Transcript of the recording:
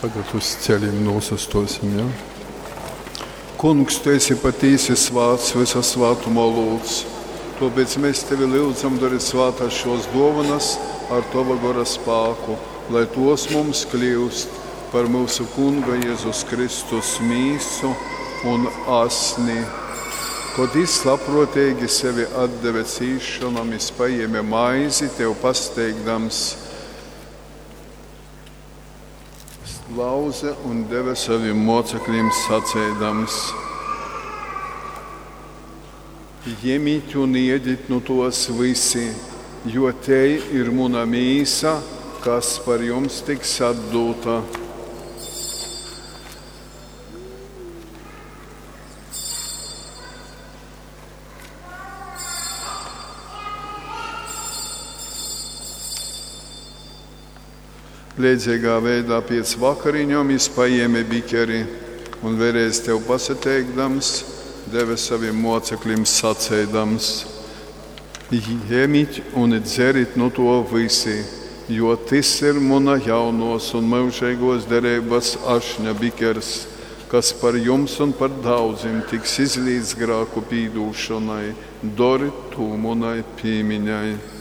Tagad uz ceļiem nūsastuosim, ja? Kungs, tu esi patīsi svāts, vysa svātuma olūts. Tuopēc mēs tevi lyudzam, dori svātas šos duovanas ar tova gora spāku, lai tos mums kļiust par mūsu Kunga Jēzus Kristus mīsu un asni. Kod jis labpruoteigi sevi atdeve cīsšonom, jis pajēme maizi, tev pasteigdams, lauze un deve savim moceklim saceidams: Jemit un iedit nu tos vysi, jo tei ir muna mīsa, kas par jums tiks atdūta. Leidzīgā veidā pēc vakariņom jis pajēme bikeri un vēlreiz tev pasateikdams, deve savim moceklim saceidams: Jemit un dzerit nu to vysi, jo tys ir muna jaunuos un myužeiguos dereibys ašņa bikers, kas par jums un par daudzim tiks izlīts grāku pīdūšonai. Dorit tū munai pīmiņai.